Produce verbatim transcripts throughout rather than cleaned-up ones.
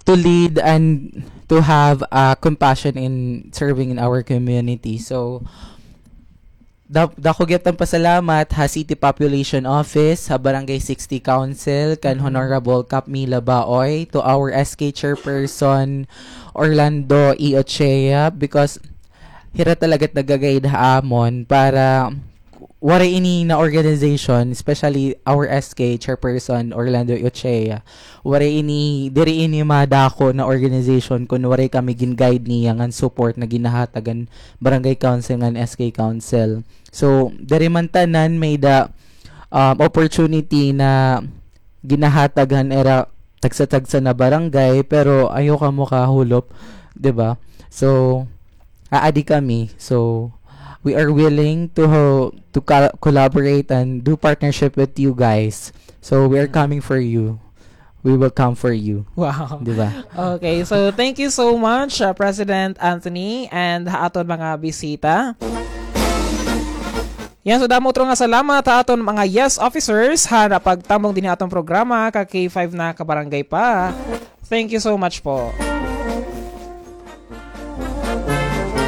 to lead and to have, uh, compassion in serving in our community. So, da-, dako gihap nga pasalamat ha City Population Office, ha Barangay sixty Council, kan Honorable Kap Mila Baoy, to our S K Chairperson Orlando E. Ochea, because hira talaga it nag-guide ha amon para waray ini na organization, especially our S K Chairperson Orlando Ochea, waray ini, diri ini madako na organization kun waray kami gin-guide niya ngan support na ginahatag han Barangay Council ngan S K Council. So, diri man tanan may-ada, um, opportunity na ginahatag han ira tagsa-tagsa na barangay, pero ayaw kamo kahulop, di ba? So, aadi kami. So, we are willing to, to co-, collaborate and do partnership with you guys. So, we are coming for you. We will come for you. Wow. Di ba? Okay, so thank you so much, uh, President Anthony, and ha aton mga bisita. Yan, so damo utro nga salamat ha aton mga yes officers ha napagtambong dinhi ha aton programa, ka K five na, ka Barangay Pa. Thank you so much po.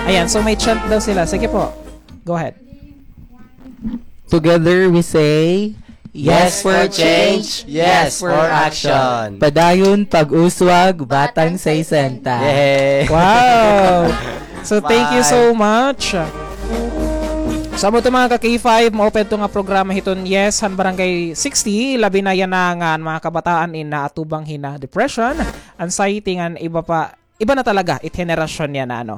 Ayan, so may chant daw sila. Sige po. Go ahead. Together we say, yes for change, yes for action. Padayon pag-uswag, Batang sesenta. Yay! Wow! So, thank you so much. So, amo ito, mga ka K five, maupay ito nga programa hiton Yes han Barangay sixty, labi na yana nga an mga kabataan in naatubang hina depression, anxiety, ngan iba pa, iba na talaga it henerasyon yana, ano.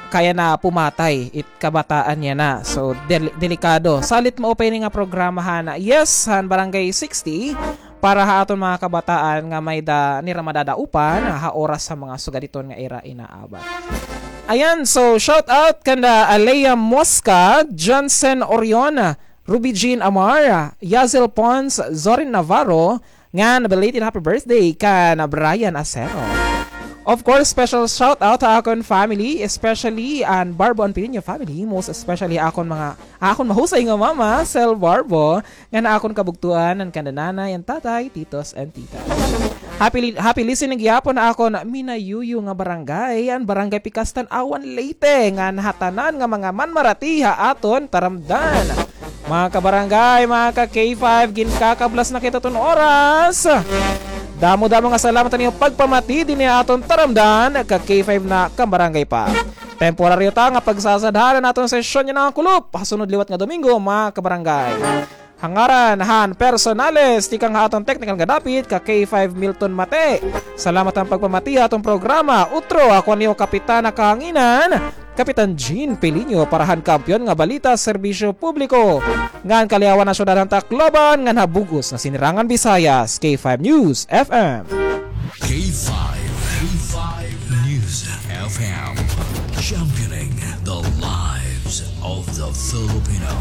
Kaya na pumatay it kabataan yana. So, del-, delikado. Salit maupay ini nga programa han Yes han Barangay sixty para ha aton mga kabataan nga may-ada nira madadaopan ha oras ha mga sugad hiton nga ira inaabat. Ayan, so shout out kanda Alea Mosca, Johnson Orion, Ruby Jean Amar, Yazel Pons, Zorin Navarro, ngan belated happy birthday kan Brian Acero. Of course, special shout out ha akon family, especially an Barbo and Pilinyo family, most especially akon mga, akon mahusay nga mama, Sel Barbo, ngan akon kabugtoan, an kanda nanay and tatay, titos and tita. Happy li-, happy listening gihapon ha akon minayuyo nga barangay, an Barangay Pikas, Tanauan, Leyte, ngan ha tanan nga mga manmarati ha aton taramdan. Mga kabarangay, mga ka K five, ginkakablas na kita hiton oras. Damo-damo nga salamat han iyo pagpamati dinhi ha aton taramdan, ka K five na, ka Barangay Pa. Temporaryo ta nga pagsasadhan an aton sesyon yana nga kulop ha sunod liwat nga Domingo, mga kabarangay. Ha ngaran han personales tikang ha aton technical nga dapit, ka K five Milton Mate. Salamat han pagpamati ha aton programa. Utro, ako an iyo kapitan ha kahanginan, Kapitan Jean Peliño, para han Kampiyon nga Balita, Serbisyo Publiko, ngan Kaliawan han Syudad han Tacloban, ngan ha bug-os nga Sinirangan Visayas, K five News F M. K five, K five News F M, championing the lives of the Filipino.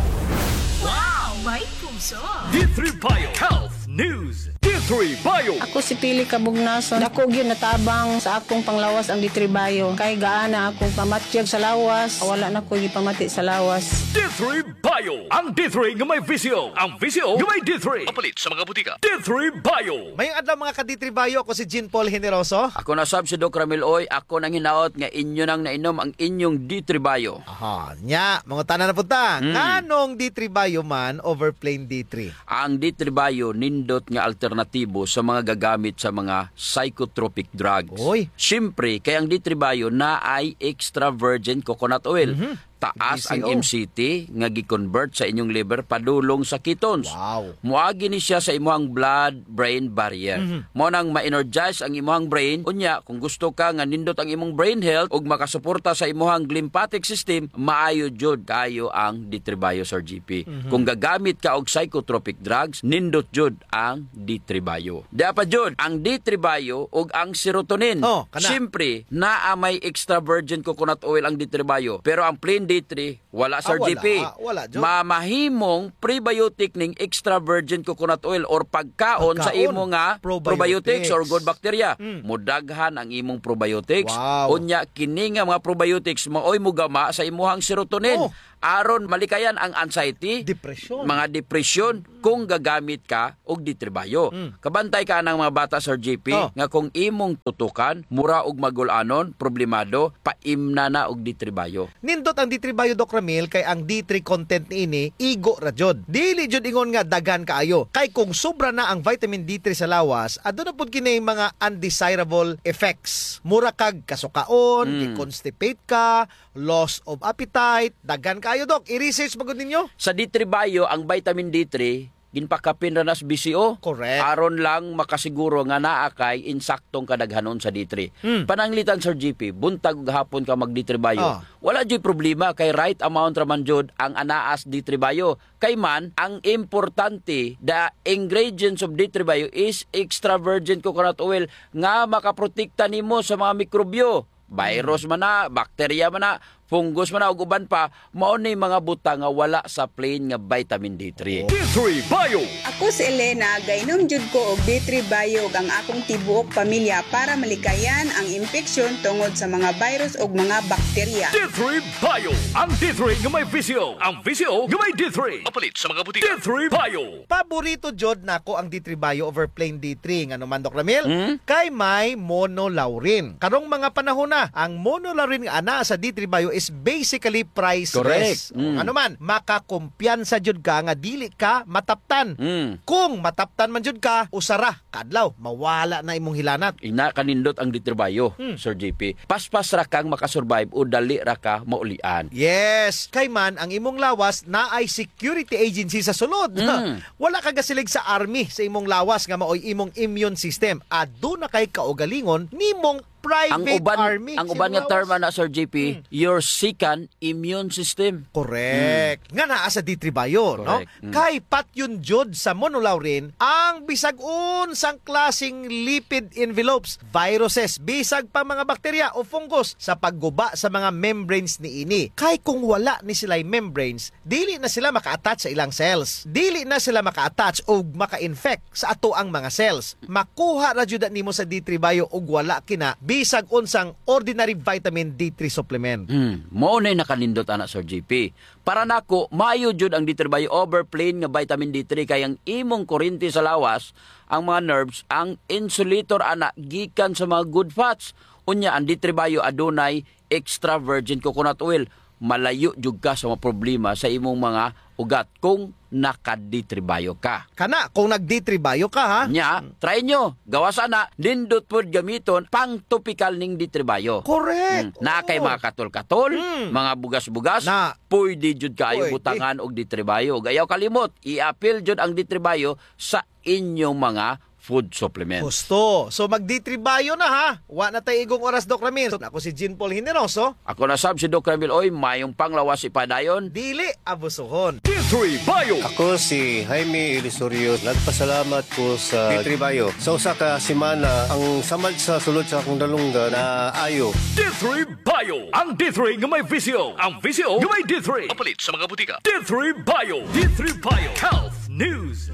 Wow! May puso! D three Bio Health News. D three Bio. Ako si Pili Kabugnason. Dako gyud natabang sa akong panglawas ang D three Bio. Kay gaan na akong pamatyag sa lawas. Wala na ko gipamati sa lawas. D three Bio. Ang D three nga may visyo. Ang visyo nga may D three. Mapalit sa mga butika. D three Bio. Mayong adlaw, mga ka D three Bio. Ako si Jean Paul Generoso. Ako na sab si Doc Ramil Oy. Ako nanghinaot nga inyo nang nainom ang inyong D three Bio. Aha, nya, mangutana na pud ta. Hmm. Nganong D three Bio man over plain D three? Ang D three Bio nindot nga alternatibo sa mga gagamit sa mga psychotropic drugs. Oy. Siyempre, kay ang D three Bio naay extra virgin coconut oil. Mhm. Taas ang M C T nga gi-convert sa inyong liver padulong sa ketones. Wow. Moagi ni siya sa imuhang blood-brain barrier. Mhm. Mao nang ma-energize ang imuhang brain. Unya, kung gusto ka nga nindot ang imong brain health ug makasuporta sa imuhang glymphatic system, maayo jud kaayo ang D three Bio, Sir G P. Mhm. Kung gagamit ka og psychotropic drugs, nindot jud ang D three Bio. Dia pa jud, ang D three Bio ug ang serotonin. Oh, kana. Siyempre, naa may extra virgin coconut oil ang D three Bio, pero ang plain D three, wala, Sir G P. Ah, wala. Ah, wala jud. Ma-, mahimong prebiotic ning extra virgin coconut oil or pagkaon sa imo nga probiotics or good bacteria. Pagkaon. Probiotics. Mm. Modaghan ang imong probiotics. Wow. Unya, kini nga mga probiotics maoy mogama sa imuhang serotonin. Oh. aron malikayan ang anxiety, depression, mga depression, kung gagamit ka og D three Bio. Mm. Kabantay ka anang mga bata, Sir J P, oh, nga kung imong tutukan, mura og magul-anon, problemado, paimna na og D three Bio. Nindot ang D three Bio, Doc Ramil, kay ang D three content niini, igo ra jud. Dili jud ingon nga daghan kaayo. Kay kung sobra na ang vitamin D three sa lawas, aduna pud kini mga undesirable effects. Mura kag kasukaon, mm, i-constipate ka, loss of appetite, daghan kaayo, Doc. I-research ba gud ninyo? Sa D three Bio, ang vitamin D three, ginpakapin ra nas B C O. Correct. Aron lang makasiguro nga naa kay insaktong kadaghanon sa D three. Hmm. Pananglitan, Sir J P, buntag ug hapon ka mag D three Bio. Ah. Wala juy problema kay right amount ra man jud ang anaas D three Bio. Kay man, ang importante, the ingredients of D three Bio is extra virgin coconut oil nga makaprotekta nimo sa mga mikrobyo. Virus man na, bakterya man na, fungus man na, ug uban pa, mao ni mga butang nga wala sa plain nga vitamin D three. D three Bio. Ako si Elena, gainom jud ko og D three Bio ug ang akong tibuok pamilya para malikayan ang impeksyon tungod sa mga virus ug mga bakterya. D three Bio, ang D three nga may V C O, ang V C O nga may D three. Mapalit sa mga butika. D three Bio. Paborito jud nako ang D three Bio over plain D three. Ngano man, Doc Ramil? Hmm? Kay may monolaurin. Karong mga panahon na, ang monolaurin nga anaa sa D three Bio is basically priceless. Correct. O, hmm, ngano man, makakumpiyansa jud ka nga dili ka mataptan. Hmm. Kung mataptan man jud ka, usa ra ka adlaw, mawala na imong hilanat. Ina kanindot ang D three Bio, hmm, Sir J P. Paspas ra kang makasurvive o dali ra ka maulian. Yes. Kay man, ang imong lawas naay security agency sa sulod. Mm. Wala ka gasilig sa army sa imong lawas nga maoy imong immune system. Aduna kay kaugalingon nimong private army sa imong lawas. Ang uban, ang uban nga term ana, Sir J P, mm, your second immune system. Correct. Mm. Nga naa sa D three Bio, no? Correct. Mm. Kay patyon jud sa monolaurin ang bisag unsang klaseng lipid envelopes, viruses, bisag pa mga bakterya o fungus sa pagguba sa mga membranes niini. Kay kung wala ni sila'y membranes, dili na sila maka-attach sa ilang cells. Dili na sila maka-attach o maka-infect sa atoang mga cells. Makuha ra jud nimo sa D three Bio ug wala kina bisag unsang ordinary vitamin D three supplement. Hmm, mao nay nakanindot ana, Sir J P. Para nako, maayo jud ang D three Bio over plain nga vitamin D three kay ang imong kurente sa lawas, ang mga nerves, ang insulator ana gikan sa mga good fats. Unya, ang D three Bio adunay extra virgin coconut oil. Malayo jud ka sa mga problema sa imong mga ugat kung naka-D three Bio ka. Kana, kung nag-D three Bio ka, ha? Nya, try nyo. Gawas ana, nindot pod gamiton, pang-topical ning D three Bio. Correct. Hmm. Naa kay mga katol-katol, hmm, mga bugas-bugas, na, pwede jud kaayo, pwede, butangan og D three Bio. Ug ayaw kalimot, i-apil jud ang D three Bio sa inyong mga food supplements. Husto. So, mag-D three Bio na, ha? Wa na tay igong oras, Doc Ramil. So, ako si Jean Paul Generoso. Ako na sab si Doc Ramil. Oy, mayong panglawas ipadayon. Dili abusuhon. D three Bio. Ako si Jaime Ilusorio. Nagpasalamat ko sa D three Bio. Sa usa ka semana, ang samad sa sulod sa akong dalunggan naayo. D three Bio. Ang D three nga may V C O. Ang V C O nga may D three. Mapalit sa mga butika. D three Bio. D three Bio. Health News.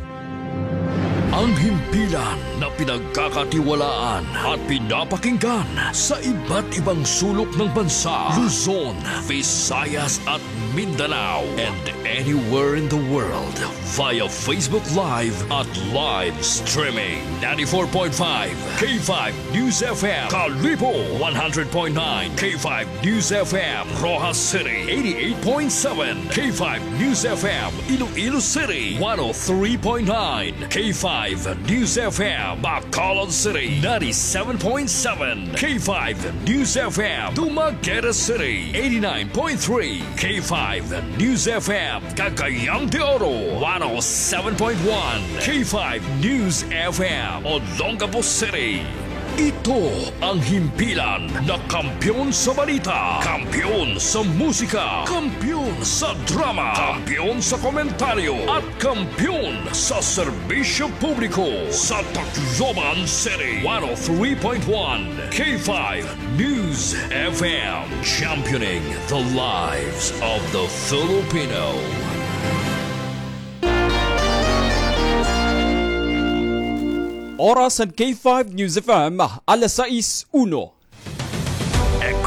Ang himpilan na pinagkakatiwalaan at pinapakinggan sa iba't ibang sulok ng bansa, Luzon, Visayas at Mindanao, and anywhere in the world via Facebook Live at live streaming. Ninety-four point five K five News F M, Kalibo, one hundred point nine K five News F M, Roxas City, eighty-eight point seven K five News F M, Iloilo City, one oh three point nine K five News F M, Bacolod City, ninety-seven point seven K five News F M, Dumaguete City, eighty-nine point three K five News F M, Cagayan de Oro, one oh seven point one K five News F M, Olongapo City. Ito ang himpilan na kampiyon sa balita, kampiyon sa musika, kampiyon sa drama, kampiyon sa komentaryo, at kampiyon sa serbisyo publiko sa Tacloban City. One oh three point one K five News F M, championing the lives of the Filipino. Oras han K five News F M, alas sais uno.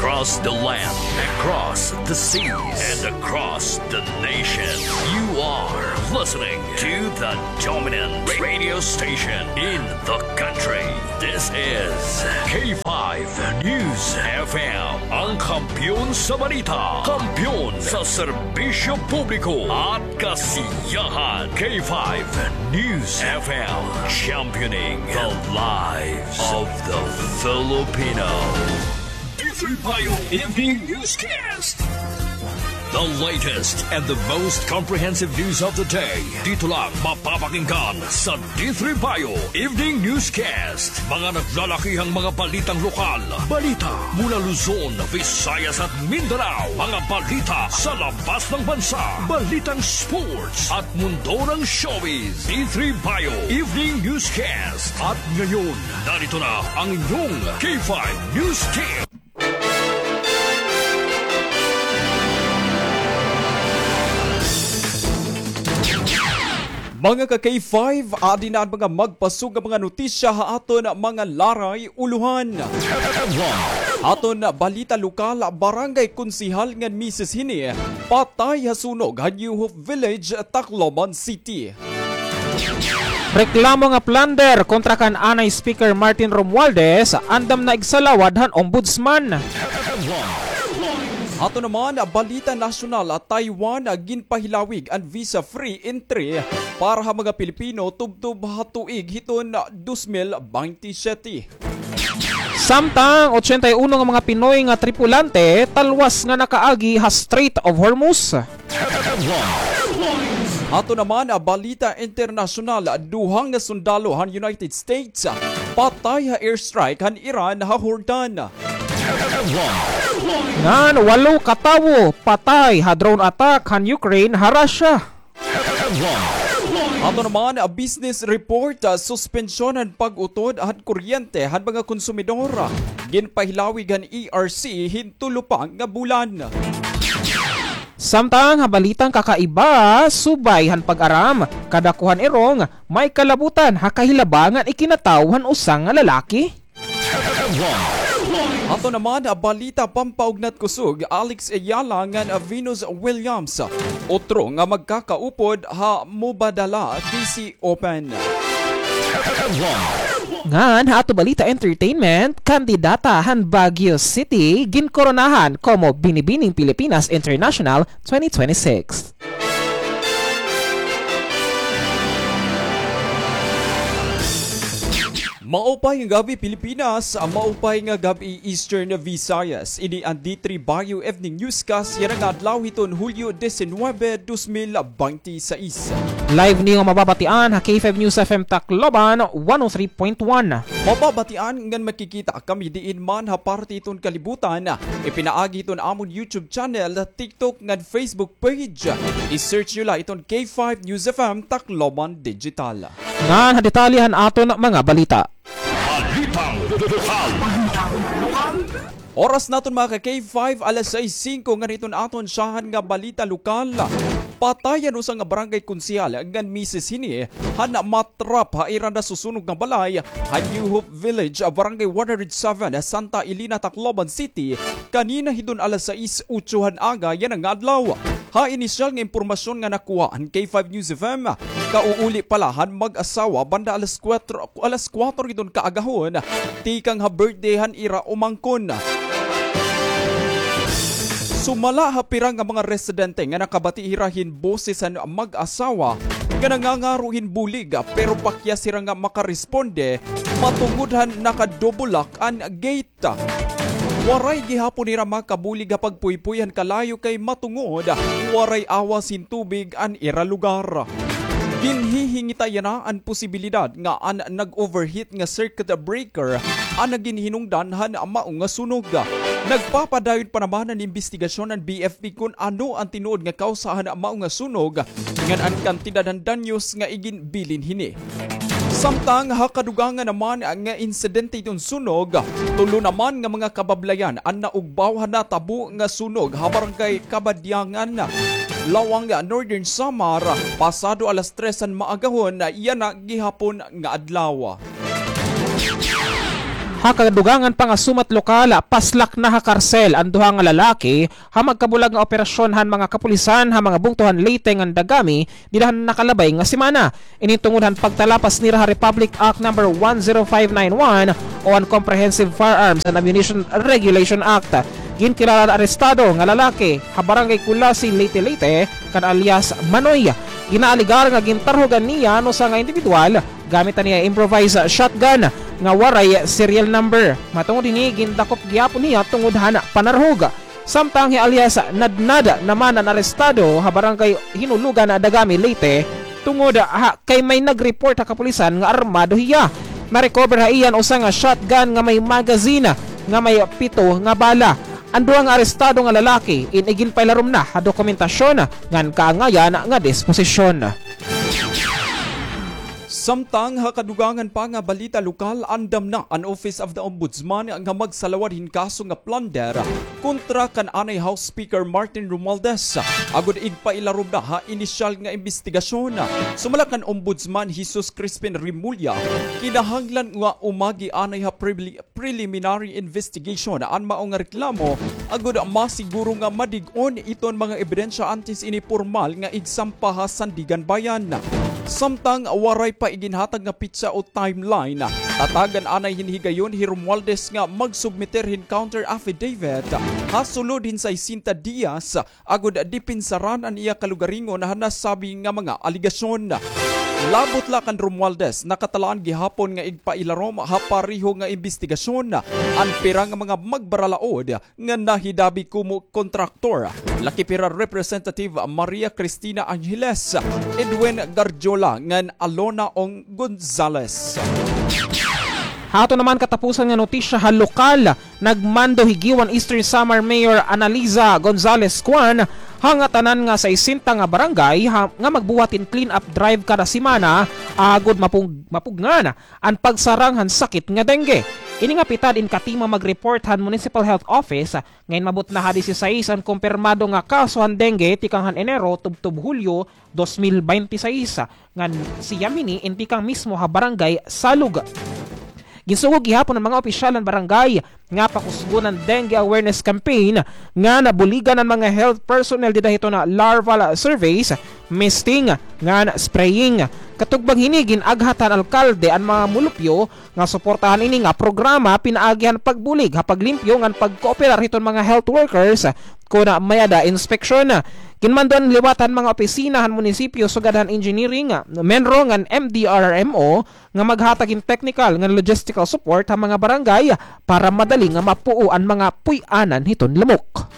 Across the land, across the seas, and across the nation, you are listening to the dominant radio station in the country. This is K five News F M, ang kampiyon sa balita, kampiyon sa serbisyo publiko at kasiyahan. K five News F M, championing the lives of the Filipino. D three Bio Evening Newscast. The latest and the most comprehensive news of the day. Dito lang mapapakinggan sa D three Bio Evening Newscast. Mga naglalakihang mga balitang lokal. Balita mula Luzon, Visayas at Mindanao. Mga balita sa labas ng bansa. Balitang sports at mundo ng showbiz. D three Bio Evening Newscast. At ngayon, narito na ang inyong K five News Team. Mga ka-K five, adi na an mga magpasug nga mga notisya ha aton mga laray ulohan. Aton balita lokal, barangay konsehal ngan misis hini patay ha sunog ha New Hope Village, Tacloban City. Reklamo nga plunder kontra kan anay Speaker Martin Romualdez, andam na igsalawad han Ombudsman. Ato naman, balita nasyonal, Taiwan ginpahilawig an visa-free entry para ha mga Pilipino tubtob ha tuig hiton dos mil baynte siyete. Samtang ochenta y uno nga mga Pinoy nga tripulante talwas nga nakaagi ha Strait of Hormuz. Ato naman, balita internasyonal, duha nga sundalo han United States patay ha airstrike han Iran ha Jordan. Ngan walo ka tawo patay ha drone attack han Ukraine ha Russia. Ato naman, business report, suspensyon han pag-utod han kuryente han mga konsumidor ginpahilawig han E R C hin tulo pa nga bulan. Samtang ha balitang kakaiba, subay han pag-aram, kadakuhan irong may kalabutan ha kahilaba ngan ikinatawo han usa nga lalaki. Ato naman, balita pampaugnat kusog, Alex Ayala ngan Venus Williams, utro nga magkakaupod ha Mubadala D C Open. Ngan ha ato balita entertainment, kandidata han Baguio City ginkoronahan komo Binibining Pilipinas International twenty twenty-six. Maupay nga gab-i, Pilipinas. Maupay nga gab-i, Eastern Visayas. Ini an D three Bayo Evening Newscast yana nga adlaw hiton Hulyo diecinuebe, dos mil baynte sais. Live niyo mababatian ha K five News F M Tacloban, one oh three point one. Mababatian ngan makikita kami diin man ha parte hiton kalibutan, ipinaagi hiton amon YouTube channel, TikTok ngan Facebook page. I-search niyo la iton K five News F M Tacloban Digital. Ngan ha detalye han aton mga balita. Balitang lokal. Oras naton, mga ka-K five, alas sais singko, ngan hiton aton syahan nga balita lokal. Patay an usa nga barangay konsehal ngan misis hini han matrap ha ira nasusunog nga balay ha New Hope Village, Barangay one hundred seven, Santa Elena, Tacloban City, kanina hiton alas sais otso han aga yana nga adlaw. Ha inisyal nga impormasyon nga nakuha han K five News F M, kauuli pa la han mag-asawa banda alas kuwatro, alas kuwatro hiton kaagahon, tikang ha birthday han ira umangkon. Sumala ha pira nga mga residente nga nakabati hira hin boses han mag-asawa nga nangangaro hin bulig, pero pakyas hira nga makaresponde matungod han naka-double lock an gate. Waray gihapon hira makabulig ha pagpuypoy han kalayo kay matungod waray awas hin tubig an ira lugar. Ginhihingita yana an posibilidad nga an nag-overheat nga circuit breaker an naginhinungdan han mao nga sunog. Nagpapadayon pa naman an imbestigasyon han B F P kon ano an tinuod nga kawsa han mao nga sunog, ngan an kantidad han danyos nga iginbilin hini. Samtang ha kadugangan naman nga insidente hiton sunog, tulo naman nga mga kabablayan an naugbaw ha natabo nga sunog ha Barangay Kabadyangan, Lawang, Northern Samar, pasado alas tres han maagahon yana gihapon nga adlaw. Ha kadugangan pa nga sumat lokal, paslak na ha karsel an duha nga lalaki ha magkabulag nga operasyon han mga kapulisan ha mga bungto han Leyte ngan Dagami dida han nakalabay nga semana. Ini tungod han pagtalapas nira ha Republic Act number one zero five nine one o an Comprehensive Firearms and Ammunition Regulation Act. Ginkilala an arestado nga lalaki ha Barangay Culasi, Leyte, Leyte, kan alias Manoy. Ginaalegar nga gintarhugan niya an usa nga indibidwal gamit an iya improvised shotgun nga waray serial number. Matungod hini, gindakop gihapon niya tungod han panarhog. Samtang hi alias Nadnad naman an arestado ha Barangay Hinulugan, Dagami, Leyte, tungod ha kay may nag-report ha kapulisan nga armado hiya. Na-recover ha iya an usa nga shotgun nga may magazine nga may pito nga bala. An duha nga arestado nga lalaki in-, iginpailarom na ha dokumentasyon ngan kaangayan nga disposisyon. Samtang ha kadugangan pa nga balita lokal, andam na an Office of the Ombudsman nga magsalawad hin kaso nga plunder kontra kan anay House Speaker Martin Romualdez, agod igpailarom na ha inisyal nga imbestigasyon. Sumala kan Ombudsman Jesus Crispin Remulla, kinahanglan nga umagi anay ha pribli-, preliminary investigation an mao nga reklamo, agod masiguro nga madig-on iton mga ebidensya antes ini pormal nga igsampa ha Sandiganbayan. Samtang waray pa iginhatag nga petsa o timeline, tatagan anay hin higayon hi Romualdez nga magsubmiter hin counter affidavit ha sulod hin sesenta diyas agod depensaran an iya kalugaringon han nasabi nga mga alegasyon. Labot la kan Romualdez, nakatalaan gihapon nga igpailarom ha pareho nga imbestigasyon an pira nga mga magbaralaod nga nahidabi komo kontraktor, la Kipira Representative Maria Cristina Angeles, Edwin Garjola ngan Alona Ong Gonzales. Ha aton naman katapusan nga notisya ha lokal, nagmando hi Guiuan Eastern Samar Mayor Analiza Gonzales Cuan ha ngatanan nga sesenta nga barangay ha, nga magbuhat hin clean-up drive kada semana agod mapug-, mapugngan an pagsarang han sakit nga dengue. Ini nga pitad in katima mag-report han Municipal Health Office, ngan inabot na ha disisais an kumpirmado nga kaso han dengue tikang han Enero tubtob Hulyo dos mil baynte sais, ngan siyam hini in tikang mismo ha Barangay Salug. Ginsugo gihapon an mga opisyal han barangay nga pakusgon an dengue awareness campaign, ngan buligan an mga health personnel dida hiton larval surveys, misting, ngan spraying. Katubang hini, gin-aghat han alkalde an mga mulupyo nga suportahan ini nga programa pinaagi han pagbulig ha paglimpyo ngan pagkooperar hiton mga health workers kon may-ada inspeksyon. Ginmando an liwat han mga opisina han munisipyo sugad han engineering, MENRO ngan M D R R M O nga maghatag hin technical ngan logistical support ha mga barangay para madali nga mapuo an mga puy-anan hiton lamok.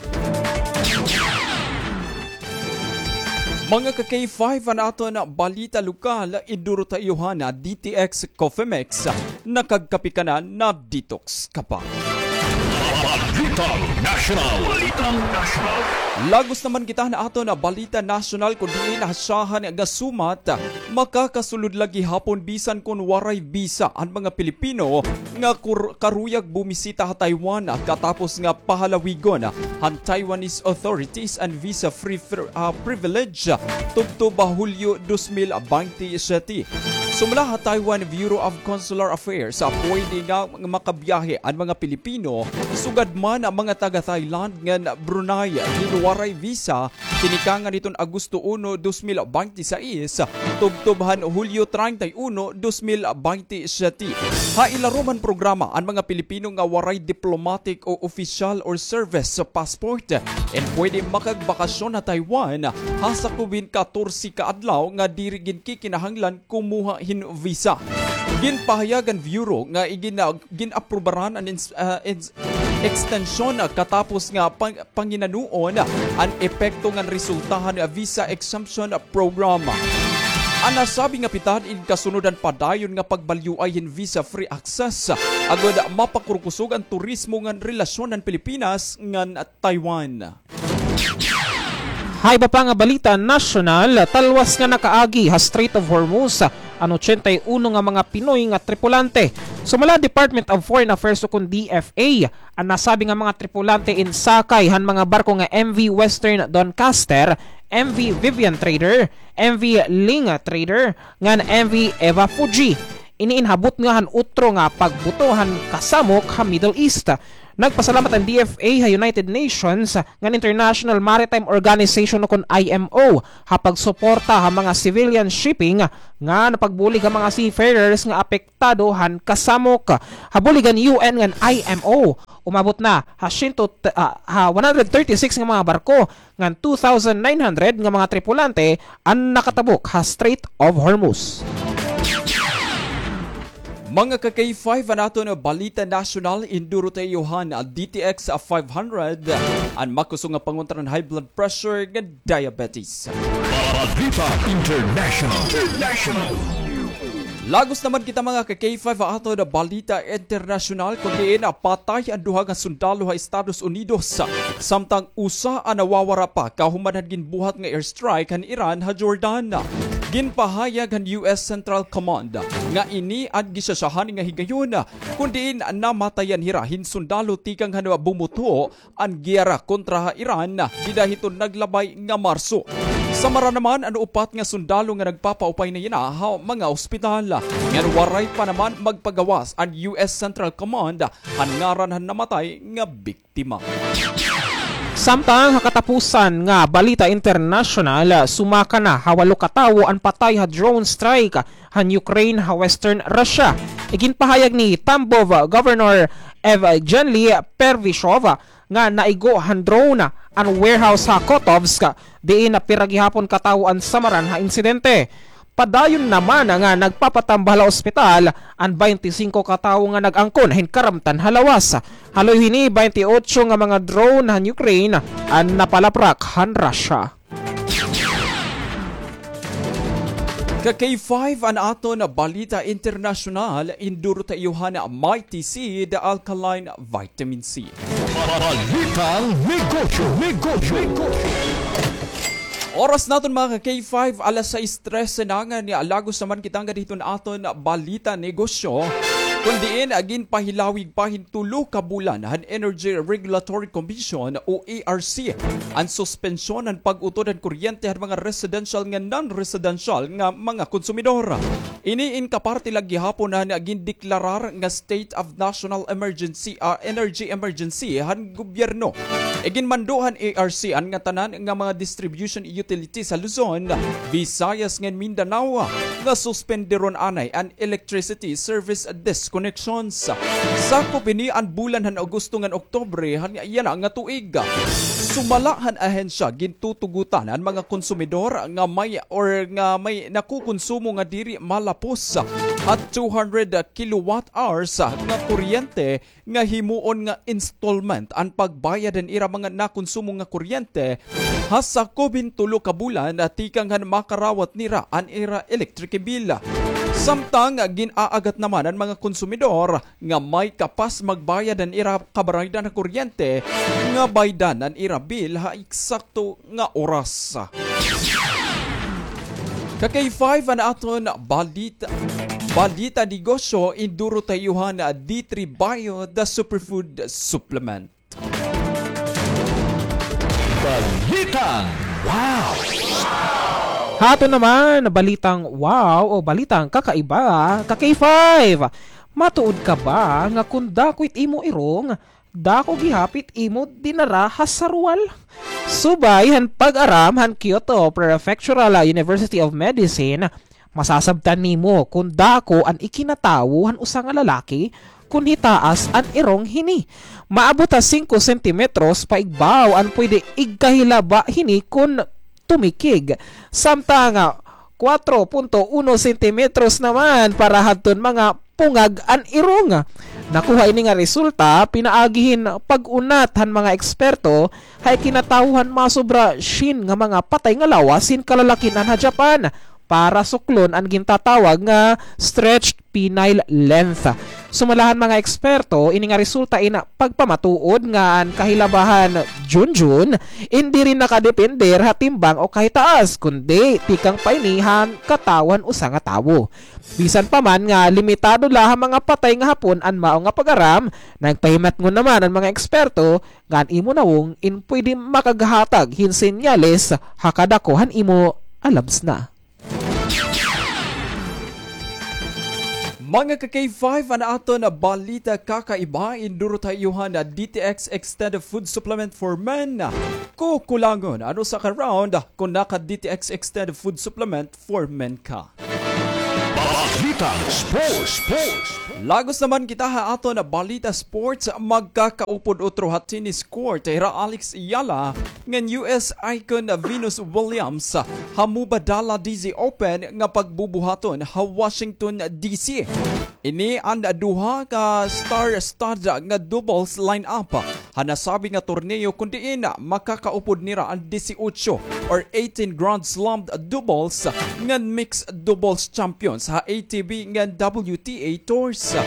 Mga ka-K five, an aton balita lokal, iduro ta iyo han D T X Coffee Mix. Nakagkape ka na, na-detox ka pa. Balitang Nasyonal. Balitang Nasyonal. Lagos naman kita han aton balita nasyonal, kun diin ha syahan nga sumat, makakasulod la gihapon bisan kon waray visa an mga Pilipino nga kur-, karuyag bumisita ha Taiwan katapos nga pahalawigon han Taiwanese authorities an visa-free fr-, ah, privilege tubtob Hulyo dos mil baynte siyete. Sumala ha Taiwan Bureau of Consular Affairs, pwede nga makabiyahe an mga Pilipino, sugad man an mga taga-Thailand ngan Brunei, hin waray visa, tinikangan hiton Agosto uno, dos mil baynte sais, tubtob han Hulyo treinta y uno, dos mil baynte siyete. Ha ilarom han programa, an mga Pilipino nga waray diplomatic o official or service passport in pwede makagbakasyon ha Taiwan ha sakob hin katorse ka adlaw nga diri ginkikinahanglan kumuha hin visa. Ginpahayag han Bureau nga igin-, gin-aprubaran an ins-, ah, ins-, ekstensyon katapos nga pang-, panginanoon an epekto ngan resulta han visa exemption program. An nasabi nga pitad in kasunod han padayon nga pagbalyoay hin visa-free access, agod mapakurkusog an turismo ngan relasyon han Pilipinas ngan Taiwan. Ha iba pa nga balita nasyonal, talwas nga nakaagi ha Strait of Hormuz an ochenta y uno nga mga Pinoy nga tripulante. Sumala Department of Foreign Affairs ukon D F A, an nasabi nga mga tripulante in sakay han mga barko nga M V Western Doncaster, M V Vivian Trader, M V Ling Trader, ngan M V Eva Fuji. Ini in habot nga han utro nga pagbuto han kasamok ha Middle East. Nagpasalamat an D F A ha United Nations ngan International Maritime Organization o kon I M O ha pagsuporta ha mga civilian shipping nga napagbulig ha mga seafarers nga apektado han kasamok. Ha bulig han U N ngan I M O, umabot na ha siyento, ah, ha one hundred thirty-six nga mga barko ngan two thousand nine hundred nga mga tripulante an nakatabok ha Strait of Hormuz. Mga ka-K five, an aton balita nasyonal, induro ta iyo han D T X five hundred, an makusog nga pangontra han high blood pressure ngan diabetes. Balita International. International. Lagos naman kita, mga ka-K five, ha aton balita internasyonal, kun diin patay an duha nga sundalo ha Estados Unidos, samtang usa an nawawara pa kahuman han ginbuhat nga airstrike han Iran ha Jordan. Ginpahayag han U S Central Command nga ini an gisasyahan nga higayon, kun diin namatayan hira hin sundalo tikang han bumuto an giyera kontra ha Iran dida hiton naglabay nga Marso. Samara naman, an upat nga sundalo nga nagpapaupay na yana ha mga ospital. Ngan waray pa naman magpagawas an U S Central Command han ngaran han namatay nga biktima. Samtang ha katapusan nga balita internasyonal, sumaka na ha walo ka tawo an patay ha drone strike han Ukraine ha western Russia. Iginpahayag ni Tambov Governor Evgeny Pervishov nga naigo han drone an warehouse ha Kotovsk, diin pira gihapon ka tawo an samaran ha insidente. Padayon naman nga nagpapatambal ha ospital an baynte singko ka tawo nga nag-angkon hin karamtan ha lawas. Haloy hini, baynte otso nga mga drone han Ukraine an napalaprak han Russia. Ka-K five, an aton balita internasyonal, induro ta iyo han Mighty Seed Alkaline Vitamin C. Balitang negosyo, negosyo, negosyo. Oras naton, mga ka-K five, alas sais trese na, ngan lagos naman kita ngada hiton aton balita negosyo. Kun diin, ginpahilawig pa hin tulo ka bulan han Energy Regulatory Commission o E R C an suspensyon han pag-utod han kuryente han mga residential ngan non-residential nga mga konsumidor. Ini in kaparte la gihapon han gindeklarar nga state of national emergency, ah, energy emergency han gobyerno. Iginmando han E R C an ngatanan nga mga distribution utilities ha Luzon, Visayas ngan Mindanao nga suspenderon anay an electricity service disconnections. Sakop ini an bulan han Agosto ngan Oktubre han yana nga tuig. Sumala han ahensya, gintutugutan an mga konsumidor nga may or nga may nakukonsumo nga diri malapos ha two hundred kilowatt hours nga kuryente nga himuon nga installment an pagbayad han ira mga nakonsumo nga kuryente ha sakop hin tulo ka bulan tikang han makarawat nira an ira electric bill. Samtang gin-aagat naman an mga konsumidor nga may kapas magbayad han ira kabaraydan ha kuryente nga baydan an ira bill ha eksakto nga oras. Ka-K five, an aton balita, balita negosyo, induro ta iyo han D three Bio, the superfood supplement. Balitang wow! Ha aton naman balitang wow o balitang kakaiba, ka-K five, matuod ka ba nga kun dako it imo irong, dako gihap it imo dinara ha sarwal? Subay han pag-aram han Kyoto Prefectural University of Medicine, masasabtan nimo kon dako an ikinatawo han usa nga lalaki kon hitaas an irong hini. Maabot ha singko sentimetros paigbaw an pwede igkahilaba hini kon tumikig. Samtang kwatro punto uno sentimetros naman para hadton mga pungag an irong. Nakuha ini nga resulta pinaagi hin pag-unat han mga eksperto ha ikinatawo han masobra syen nga mga patay nga lawas hin kalalakin-an ha Japan para suklon an gintatawag nga stretched penile length. Sumala han mga eksperto, ini nga resulta in pagpamatuod nga an kahilaba han junjun in diri nakadepender ha timbang o kahitaas, kundi tikang pa ini han katawo han usa nga tawo. Bisan pa man nga limitado la ha mga patay nga hapon an mao nga pag-aram, nagpahimatngon naman an mga eksperto nga an imo nawong in pwede makaghatag hin senyales ha kadako han imo alabsna. Mga ka K five, an aton balita kakaiba, induro ta iyo han D T X Extended Food Supplement for Men. Kukulangon an usa ka round kon naka-D T X Extended Food Supplement for Men ka. Balitang sports, sports. Lagos naman kita ha aton balita sports, magkakaupod utro ha tennis court hira Alex Eala ngan U S icon Venus Williams ha Mubadala D Z Open nga pagbubuhaton ha Washington D C. Ini an duha ka star-studded nga doubles lineup ha nasabi nga torneo, kun diin makakaupod nira an dieciocho or eighteen Grand Slam doubles ngan mixed doubles champions ha A T P ngan W T A tours.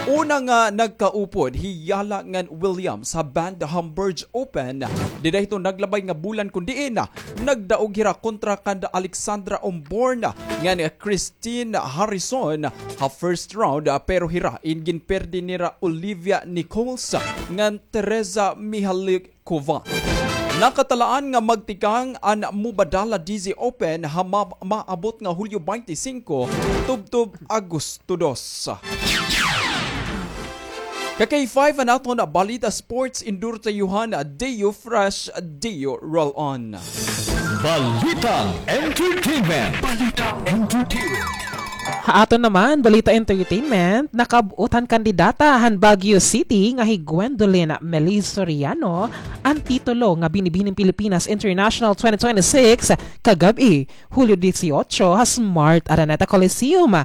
Una nga nagkaupod hi Eala ngan Williams ha Bad Homburg Open dida hiton naglabay nga bulan, kun diin nagdaog hira kontra kan Alexandra Omborn ngan Christine Harrison ha first round, ah, pero hira in ginperdi nira Olivia Nichols ngan Teresa Mihalikova. Nakatalaan nga magtikang an Mubadala D Z Open ha ma-, maabot nga Hulyo twenty-five tubtob Agosto dos. Ka K five, an aton balita sports, induro ta iyo han Deo Fresh, Deo Roll On. Balitang entertainment. Balitang entertainment. Ha aton naman balita entertainment, nakab-ot han kandidata han Baguio City nga hi Gwendolyn Meli Soriano an titulo nga Binibining Pilipinas International twenty twenty-six kagab-i, Hulyo dieciocho, ha Smart Araneta Coliseum.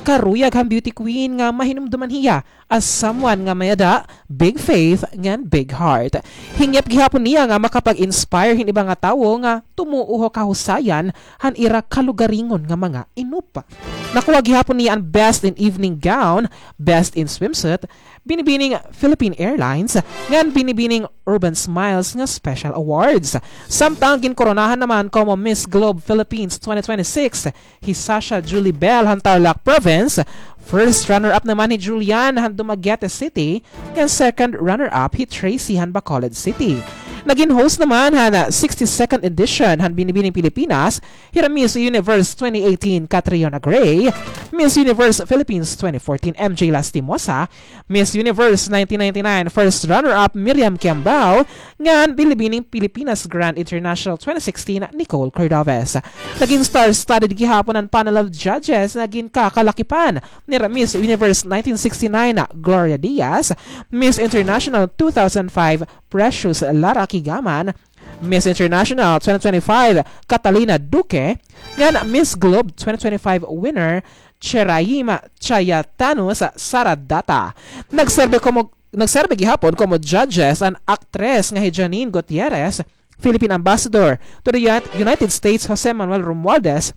Karuyag han beauty queen nga mahinumduman hiya as someone nga may-ada big faith ngan big heart. Hingyap gihapon niya nga makapag-inspire hin iba nga tawo nga tumuo ha kahusayan han ira kalugaringon nga mga inop. Nakuha gihapon niya an Best in Evening Gown, Best in Swimsuit, Binibining Philippine Airlines, ngan Binibining Urban Smiles nga Special Awards. Samtang ginkoronahan naman komo Miss Globe Philippines twenty twenty-six hi Sasha Julie Bell han Tarlac Province, first runner-up naman hi Julian han Dumaguete City, ngan second runner-up hi Tracy han Bacolod City. Nagin host naman han sixty-second edition han Binibining Pilipinas hira Miss Universe twenty eighteen Catriona Gray, Miss Universe Philippines twenty fourteen M J Lastimosa, Miss Universe nineteen ninety-nine first runner-up Miriam Kiambao, ngan Binibining Pilipinas Grand International twenty sixteen Nicole Cordovez. Nagin star-studded gihapon an panel of judges nga ginkakalakipan nira Miss Universe nineteen sixty-nine Gloria Diaz, Miss International two thousand five Precious Lara Kigaman, Miss International twenty twenty-five Catalina Duque, ngan Miss Globe twenty twenty-five winner Cheraima Chayatanus Saradata. Nagserbe komo, nagserbe gihapon komo judges an aktres nga hi Janine Gutierrez, Philippine Ambassador to the Uni-, United States Jose Manuel Romualdez,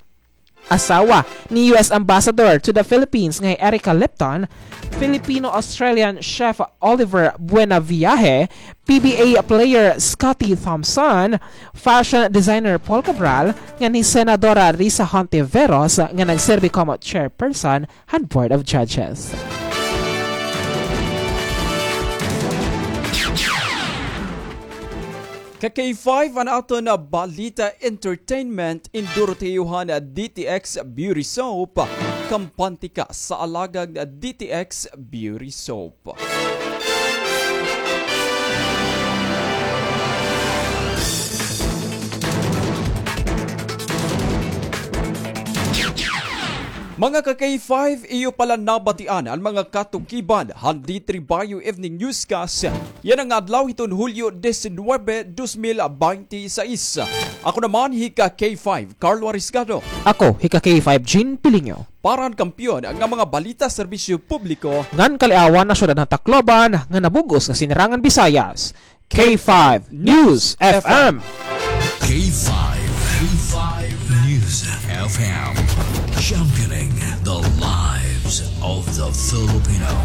asawa ni U S Ambassador to the Philippines nga hi Erica Lipton, Filipino-Australian chef Oliver Buenaviaje, P B A player Scotty Thompson, fashion designer Paul Cabral, ngan hi Senadora Risa Hontiveros nga nagserbi komo chairperson han Board of Judges. Ka K five, an aton balita entertainment, induro ta iyo han D T X Beauty Soap. Kampante ka sa alagang D T X Beauty Soap. Mga ka K five, iyo pala nabatian an mga katukiban han D three Bayo Evening Newscast yana nga adlaw hiton Hulyo diecinuebe, dos mil beintiseis. Ako naman hi ka K five, Carlo Arisgado. Ako hi ka K five, Jean Piliño. Para han kampiyon nga mga balita, serbisyo publiko ngan kaliawan ha syudad han Tacloban nga nabug-os nga Sinirangan Bisayas, K five News F M. K five, K five News F M, championing the lives of the Filipino.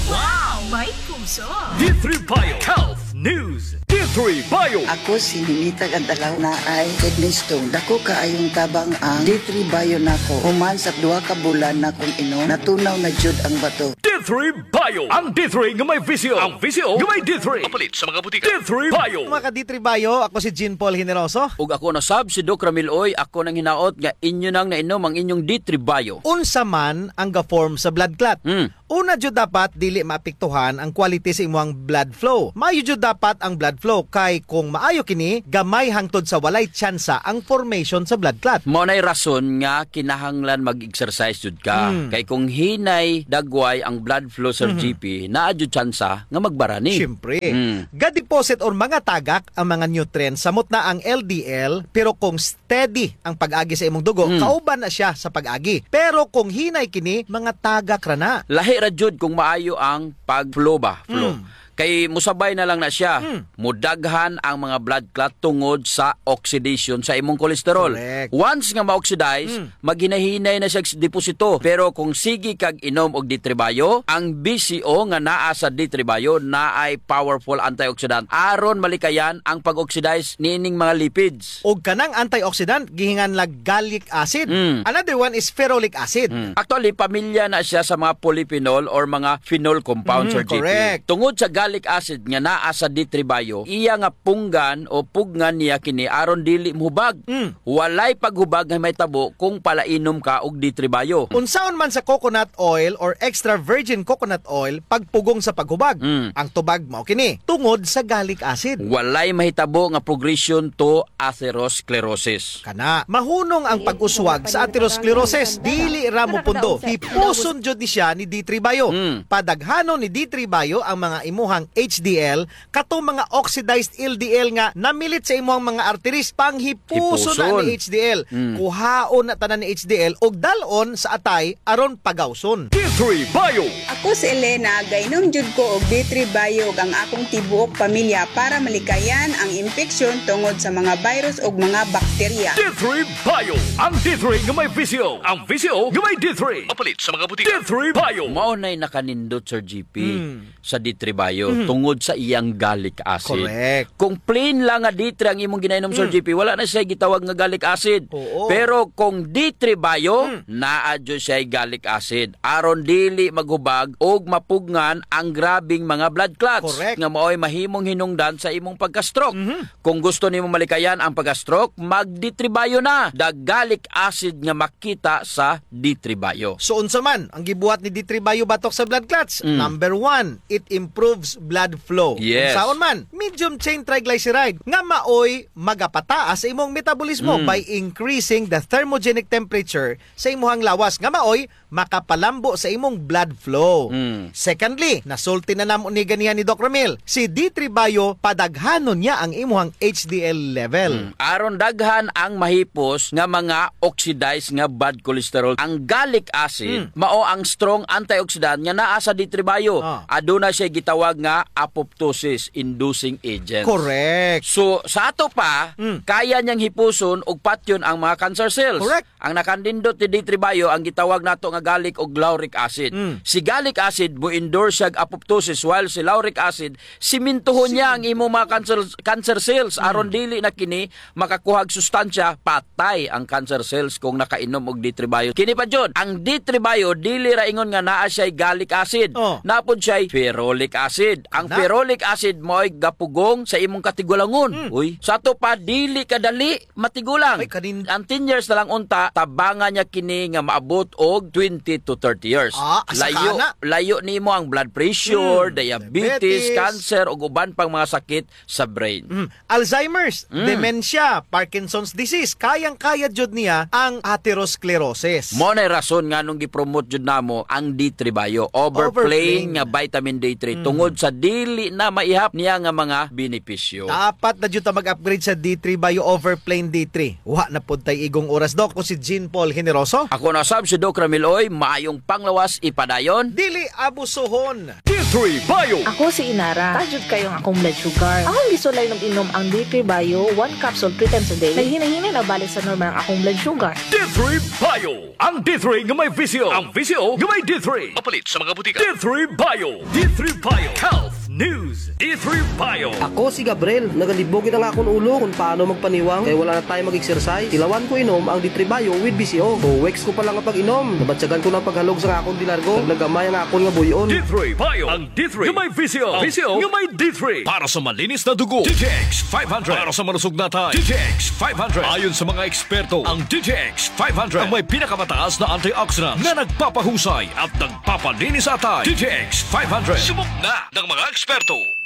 Wow! May puso! D three Bio Health News, D three Bio. Ako si Ninita Gandalaw, naay kidney stone. Dako kaayong tabang ang D three Bio nako. Human sa duha ka bulan nakong inom, natunaw na jud ang bato. D three Bio. Ang D three nga may visyo. Ang visyo nga may D three. Mapalit sa mga butika. D three Bio. Mga ka D three Bio, ako si Jean Paul Generoso. Ug ako na sab si Doc Ramil Oy, ako nang hinaot nga inyo nang nainom ang inyong D three Bio. Unsa man ang ga-form sa blood clot? Hmm. Una jud dapat dili maapektuhan ang quality sa imuhang blood flow. Maayo jud dapat ang blood flow kay kung maayo kini, gamay hangtod sa walay tsansa ang formation sa blood clot. Mao nay rason nga kinahanglan mag-exercise jud ka. Hmm. Kay kung hinay dagway ang blood flow, Sir Mhm. G P, naa jud tsansa nga magbarani. Siyempre. Hmm. Ga-deposit or mangatagak ang mga nutrients samot na ang L D L, pero kung steady ang pag-agi sa imong dugo, Mm. kauban na siya sa pag-agi. Pero kung hinay kini, mangatagak ra na. Lahi ra jud kung maayo ang pag-flow ba? Flow. Mm. Kay musabay na lang na siya. Mm. Mudaghan ang mga blood clot tungod sa oxidation sa imong cholesterol. Correct. Once nga ma-oxidize, Mm. maghinahinay na siya deposito. Pero kung sige kag inom og D three Bio, ang B C O nga naa sa D three Bio naay powerful antioxidant aron malikayan ang pag-oxidize niining mga lipids. Og kanang antioxidant, gihinganlag gallic acid. Mm. Another one is ferulic acid. Mm. Actually, pamilya na siya sa mga polyphenol or mga phenol compounds, Mm, Sir G P. Correct. Tungod sa gallic acid nga naa sa D three Bio, iya nga punggan o pugngan niya kini aron dili mohubag. Mm. Walay paghubag nga mahitabo kung palainom ka og D three Bio. Unsaon man sa coconut oil or extra virgin coconut oil pagpugong sa paghubag? Mm. Ang tubag mao kini, tungod sa gallic acid. Walay mahitabo nga progression to atherosclerosis. Kana, mahunong ang pag-uswag sa atherosclerosis. Dili ra mopundo. Hipuson jud ni siya ni D three Bio. Mm. Padaghanon ni D three Bio ang mga imuhang H D L, kato mga oxidized L D L nga namilit sa imuhang mga arteries. Panghipuson na Hipuson. Ni H D L. Mm. Kuhaon na tanan ni H D L ug dal-on sa atay aron pagawson. D three Bio. Ako si Elena, gainom jud ko og D three Bio ug ang akong tibuok pamilya para malikayan ang impeksyon tungod sa mga virus ug mga bakterya. D three Bio. Ang D three nga may visyo. Ang visyo nga may D three. Mapalit sa mga butika. D three Bio. Mao nay nakanindot, Sir G P. Hmm. Sa D three Bio Mhm. tungod sa iyang gallic acid. Correct. Kung plain lang nga D three ang imong ginainom, Sir Mm. G P, wala na siya gitawag nga gallic acid. Oo. Pero kung D three Bio, Mm. naa jud siya gallic acid. Aron dili maghubag og mapugngan ang grabing mga blood clots Correct. Nga maoy mahimong hinungdan sa imong pagka-stroke. Mhm. Kung gusto nimo malikayan ang pagka-stroke, mag-D three Bio na. The gallic acid nga makita sa D three Bio. So, unsa man ang gibuhat ni D three Bio batok sa blood clots? Mm. Number one, it improves blood flow. Yes. Unsaon man? Medium chain triglyceride nga maoy magapataas sa imong metabolismo Mm. by increasing the thermogenic temperature sa imuhang lawas nga maoy makapalambo sa imong blood flow. Mm. Secondly, nasulti na namo ni ganiha ni Doc Ramil, si D three Bio, padaghanon niya ang imuhang H D L level. Mm. Aron daghan ang mahipos nga mga oxidized nga bad cholesterol. Ang gallic acid, Mm. mao ang strong antioxidant nga naa sa D three Bio. Ah. Aduna siya gitawag nga apoptosis inducing agent. Correct. So, sa ato pa, Mm. kaya niyang hipuson og patyon ang mga cancer cells. Correct. Ang nakanindot ni D three Bio, ang gitawag nato nga gallic og lauric acid. Mm. Si gallic acid, mo-endorse siya og apoptosis, while si lauric acid, simintuhon niya ang imong mga cancer, cancer cells. Mm. Aron dili na kini makakuha og sustansya, patay ang cancer cells kung nakainom og D three Bio. Kini pa jud, ang D three Bio, dili ra ingon nga naa siya'y gallic acid. Oh. Naa pod siya'y ferulic acid. Ang Na? Ferulic acid mao'y gapugong sa imong katigulangon. Mm. Uy, sa ato pa, dili kadali matigulang. Ay, kanin- Ang ten years na lang unta, tabangan niya kini nga maabot og twenty to thirty years. Ah, asa Layo, ka na? Layo nimo ang blood pressure, Mm, diabetes, diabetes. Cancer, ug uban pang mga sakit sa brain. Mm. Alzheimer's, Mm. dementia, Parkinson's disease, kayang-kaya jud niya ang atherosclerosis. Mao na'y rason nganong gi-promote jud namo ang D three Bio over Over plain plain. nga vitamin D three Mm. tungod sa dili na maihap niya nga mga benepisyo. Dapat na jud ta mag-upgrade sa D three Bio over plain D three. Wa na pod tay igong oras, Doc. Ako si Jean Paul Generoso. Ako na sab si Doc Ramil Oy. Maayong panglawas, ipadayon. Dili abusuhon. D three Bio. Ako si Inara. Taas jud kayo ang akong blood sugar. Akong gisulay nag-inom ang D three Bio, one capsule three times a day. Naghinay-hinay na balik sa normal ang akong blood sugar. D three Bio. Ang D three nga may visyo. Ang visyo nga may D three. Mapalit sa mga butika. D three Bio. D three Bio. Health News, D three Bio. Ako si Gabriel, nagalibog gid an akon ulo kon paano magpaniwang kay wala na tayo mag-exercise. Tilawan ko inom ang D three Bio with B C O. Two weeks ko pa lang nga pag-inom, nabatyagan ko na an paghalog sa akon de largo. Nagnagamay ang akon nga buy-on. D three Bio, ang D three nga may B C O. B C O nga may D three. Para sa malinis na dugo, D T X five hundred. Para sa malusog na atay, D T X five hundred. Ayon sa mga eksperto, ang D T X five hundred ang may pinakamataas na antioxidants na nagpapahusay at nagpapalinis sa atay. D T X five hundred. Subok na ng mga eksperto.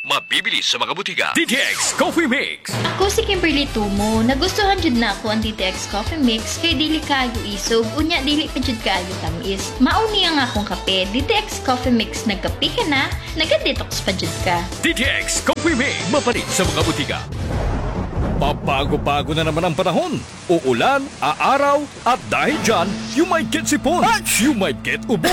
Mabibili sa mga butika. D T X Coffee Mix. Ako si Kimberly Tumo. Nagustuhan jud nako ang D T X Coffee Mix kay dili kaayo isog, unya dili pa jud kaayo tamis. Mao ni ang akong kape, D T X Coffee Mix. Nagkape ka na, naga-detox pa jud ka. D T X Coffee Mix, mapalit sa mga butika. Pabago-bago na naman ang panahon. Uulan, aaraw, at dahil dyan, you might get sipon, you might get ubo,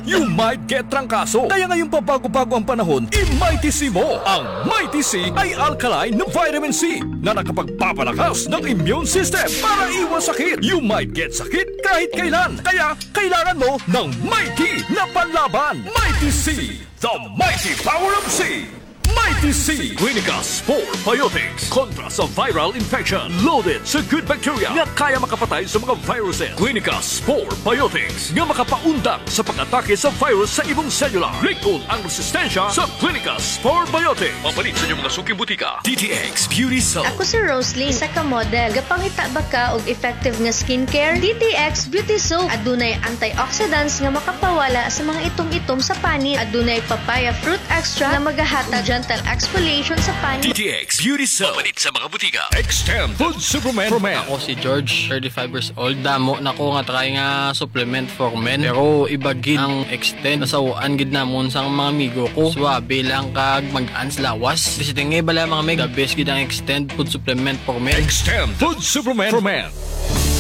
you might get trangkaso. Kaya ngayong pabago-bago ang panahon, i-Mighty C mo. Ang Mighty C ay alkaline na vitamin C na nakapagpapalakas ng immune system para iwas sakit. You might get sakit kahit kailan. Kaya kailangan mo ng Mighty na panlaban. Mighty C, the mighty power of C. Mighty C, Clinica Spore Biotics. Kontra sa viral infection, loaded sa good bacteria nga kaya makapatay sa mga viruses. Clinica Spore Biotics nga makapaundang sa pag-atake sa virus sa imong selula. Lig-on ang resistensya sa Clinica Spore Biotics. Mapalit sa inyong mga suking butika. D T X Beauty Soap. Ako si Rosalie, isa ka model. Gapangita ba ka og effective nga skincare? D T X Beauty Soap. Adunay antioxidants nga makapawala sa mga itom-itom sa panit. Adunay papaya fruit extract nga magahatag gentle exfoliation sa panit. D T X Beauty Soap. Mapalit sa mga butika. Extend Food Supplement for Men. Ako si George, thirty-five years old. Damo na ko nga try nga supplement for men. Pero iba gid ang Extend. Nasaw-an gid namon sang mga amigo ko. Suabe lang kag mag-an sa lawas. Basta nga bala mga meg, the best gid ang Extend Food Supplement for Men. Extend Food Supplement for Men.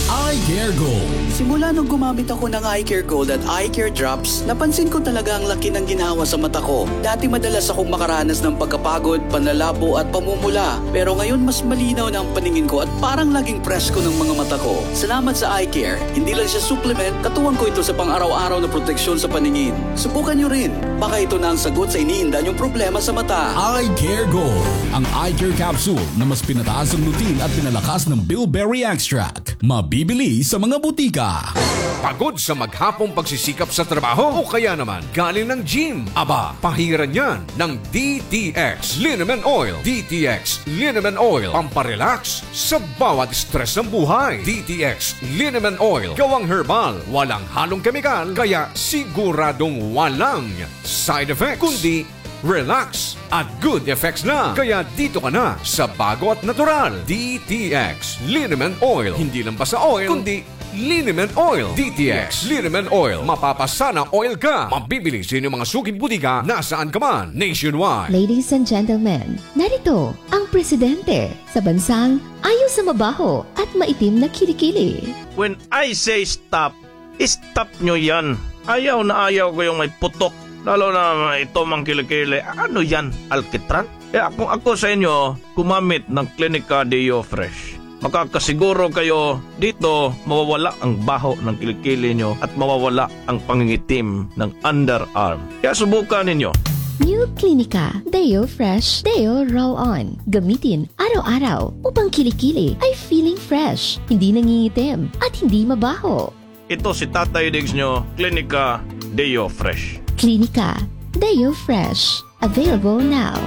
Eye Care Gold. Simula nung gumamit ako ng Eye Care Gold at Eye Care Drops, napansin ko talaga ang laki ng ginhawa sa mata ko. Dati madalas akong makaranas ng pagkapagod, panlalabo at pamumula. Pero ngayon mas malinaw na ang paningin ko at parang laging presko ng mga mata ko. Salamat sa Eye Care. Hindi lang siya supplement, katuwang ko ito sa pang-araw-araw na proteksyon sa paningin. Subukan niyo rin. Baka ito na ang sagot sa iniinda niyong problema sa mata. Eye Care Gold, ang eye care capsule na mas pinataas ang lutein at pinalakas ng bilberry extract. Mabibili sa mga butika. Pagod sa maghapong pagsisikap sa trabaho o kaya naman galing ng gym? Aba, pahiran yan ng D T X Liniment Oil. D T X Liniment Oil, pamparelax sa bawat stress ng buhay. D T X Liniment Oil, gawang herbal, walang halong kemikal, kaya siguradong walang side effects, kundi relax at good effects na. Kaya dito ka na sa bago at natural. D T X Liniment Oil. Hindi lang basta oil, kundi Liniment Oil. D T X Liniment Oil. Mapapasana oil ka. Mabibili sa inyong mga suking butika nasaan ka man nationwide. Ladies and gentlemen, narito ang presidente sa bansang ayaw sa mabaho at maitim na kilikili. When I say stop, stop nyo yan. Ayaw na ayaw ko yung may putok. Lalo na may itom ang kilikili. Ano yan? Alkitran? Kaya kung ako sa inyo, gumamit ng Clinica Deo Fresh. Makakasiguro kayo dito mawawala ang baho ng kilikili nyo at mawawala ang pangingitim ng underarm. Kaya subukan ninyo. New Clinica Deo Fresh Deo Roll-On. Gamitin araw-araw upang kilikili ay feeling fresh, hindi nangingitim, at hindi mabaho. Ito si Tatay Diggs nyo, Clinica Deo Fresh. Clinica Deo Fresh. Available now.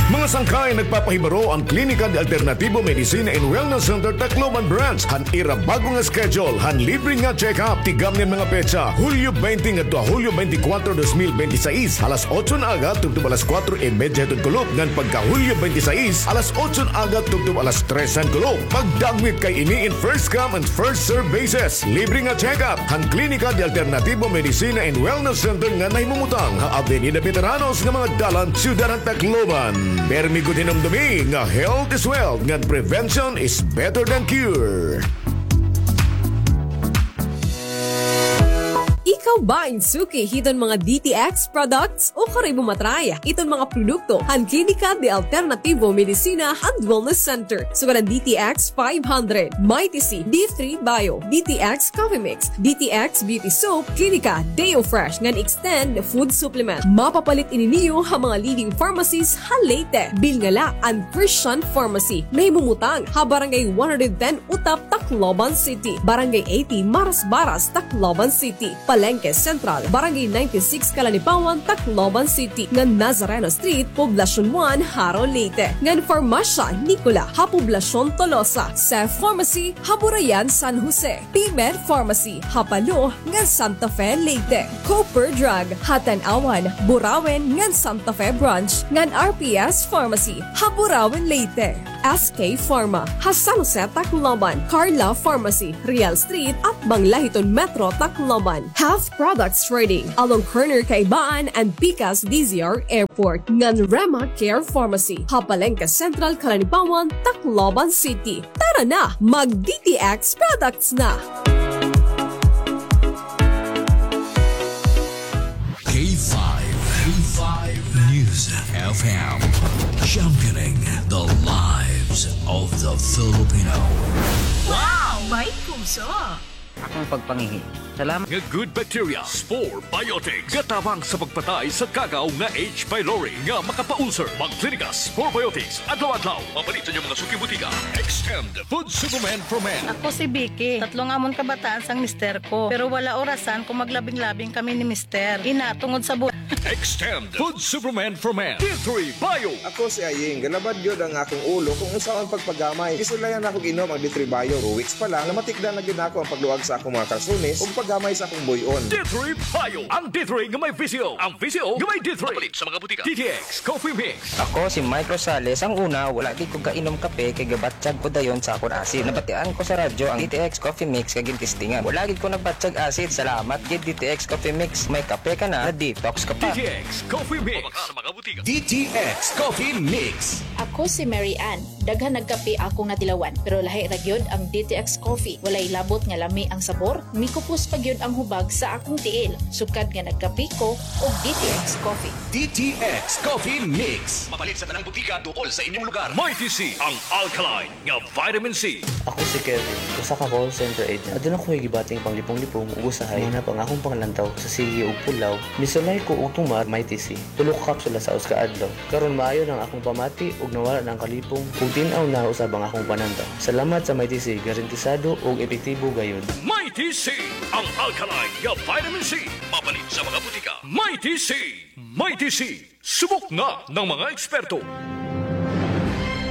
Mga sangkay, nagpapahibaro an Klinika de Alternativo Medicina and Wellness Center Tacloban Branch han ira bago nga schedule han libre nga check-up. Tigamni an mga petsa, Hulyo baynte ngadto ha Hulyo baynte kwatro, dos mil baynte sais, alas otso na aga tubtob alas kwatro y medya hiton kulop, ngan pagka Hulyo baynte sais, alas otso na aga tubtob alas tres han kulop. Pagdagmit kay ini in first come and first serve basis. Libre nga check-up han Klinika de Alternativo Medicina and Wellness Center nga nahimumutang ha Avenida Veteranos nga mga dalan, Syudad han Tacloban. Permi gud hinumdomi nga health is wealth ngan prevention is better than cure. Ikaw ba in suki hiton mga D T X products? Ukon ikaw ba matry iton mga produkto han Klinika de Alternativo Medicina and Wellness Center? Sugad an D T X five hundred, Mighty C, D three Bio, D T X Coffee Mix, D T X Beauty Soap, Klinika Deo Fresh ngan Extend Food Supplement. Mapapalit ini niyo ha mga leading pharmacies ha Leyte. Bilnga la an Christian Pharmacy. Nahimumutang ha Barangay one hundred ten Utap, Tacloban City, Barangay eighty Marasbaras, Tacloban City, Palengke Central, Barangay ninety-six Calanipawan, Tacloban City, ngan Nazareno Street, Poblacion one, Jaro, Leyte, ngan Farmasya Nicola ha Poblacion Tolosa, Cef Pharmacy ha Burayan, San Jose, P-Med Pharmacy ha Palo ngan Santa Fe, Leyte, Cooper Drug ha Tanauan, Burauen ngan Santa Fe Branch, ngan R P S Pharmacy ha Burauen, Leyte. S K Pharma ha San Jose, Tacloban, Carla Pharmacy, Real Street, atbang la hiton Metro Tacloban, Health Products Trading along corner Kaibaan and Pikas D Z R Airport, ngan Rema Care Pharmacy ha Palengke Central, Calanipawan, Tacloban City. Tara na, mag D T X products na! K five, K five News F M, championing the lives of the Filipino. Wow! May puso! Akong pagpangihi. Salamat. Nga good bacteria, Spore Biotics. Gatabang sa pagpatay sa kagaw nga H. pylori nga makapaulcer. Magklinika Spore Biotics adlaw-adlaw. Mapalit sa inyong mga suki butika. Extend Food Supplement for Men. Ako si Vicky. Tatlo nga amon kabataan sang mister ko. Pero wala orasan kung maglabing-labing kami ni mister. Ina, tungod sa bu- Extend Food Supplement for Men. D three Bio. Ako si Aying. Galabad gyud ang akong ulo kung unsaon pagpagamay. Gisulayan nako og inom ang D three Bio. Two weeks pa lang, namatikdan na gyud nako ang pagluag sa akong mga kalsones ug paggamay sa akong buy-on. D three Bio. Ang D three nga may V C O. Ang V C O nga may D three. Mapalit sa mga butika. D T X Coffee Mix. Ako si Mike Rosales. Ang una, wala gid ko kainom kape kay gabatyag ko dayon sa akon asid. Nabatian ko sa radyo ang D T X Coffee Mix kay gintestingan. Wala gid ko nagbatyag asid. Salamat gid D T X Coffee Mix. May kape ka na, na-detox ka pa. D T X Coffee Mix. Sa mga butika. D T X Coffee Mix. Ako si Mary Ann. Daghan nagkape akong natilawan, pero lahi ra gyud ang D T X Coffee. Walay labot nga lami ang sabor, mikupos pa gyud ang hubag sa akong tiil. Sukad nga nagkape ko og D T X Coffee. D T X Coffee Mix. Mapalit sa tanang butika, tukol sa inyong lugar. Mighty C, ang alkaline nga vitamin C. Ako si Kevin, usa ka call center agent. Aduna ko'y gibating panglipong-lipong ug usahay mahanap ang akong panglantaw sa sige ug pulaw. Misulay ko og tumar Mighty C. Tulo ka kapsula sa usa ka adlaw. Karon maayo na ang akong pamati ug nawala na ang kalipong ug tin-aw na usab ang akong panantaw. Salamat sa Mighty C, garantisado ug epektibo gayud. Mighty C, ang alkaline nga vitamin C. Mapalit sa mga butika. Mighty C. Mighty C. Subok na ng mga eksperto.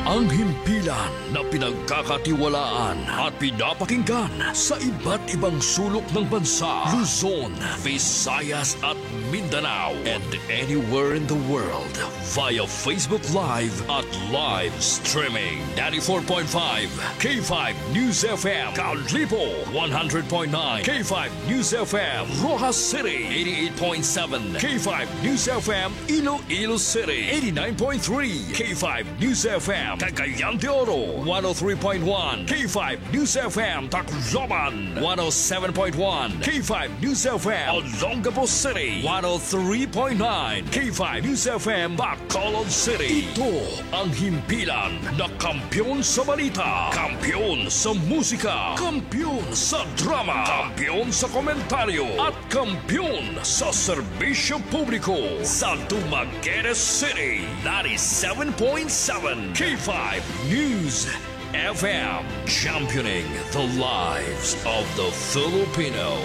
Ang himpilan na pinagkakatiwalaan at pinapakinggan sa iba't ibang sulok ng bansa, Luzon, Visayas at Mindanao, and anywhere in the world via Facebook Live at live streaming. Ninety-four point five K five News F M, Kalibo, one hundred point nine K five News F M, Roxas City, eighty-eight point seven K five News F M, Iloilo City, eighty-nine point three K five News F M, Cagayan de Oro, one oh three point one K five News F M, Tacloban, one oh seven point one K five News F M, Olongapo City, one oh three point nine K five News F M, Bacolod City. Ito ang himpilan na kampiyon sa balita, kampiyon sa musika, kampiyon sa drama, kampiyon sa komentaryo, at kampiyon sa serbisyo publiko sa Dumaguete City, ninety-seven point seven K five News F M, championing the lives of the Filipino.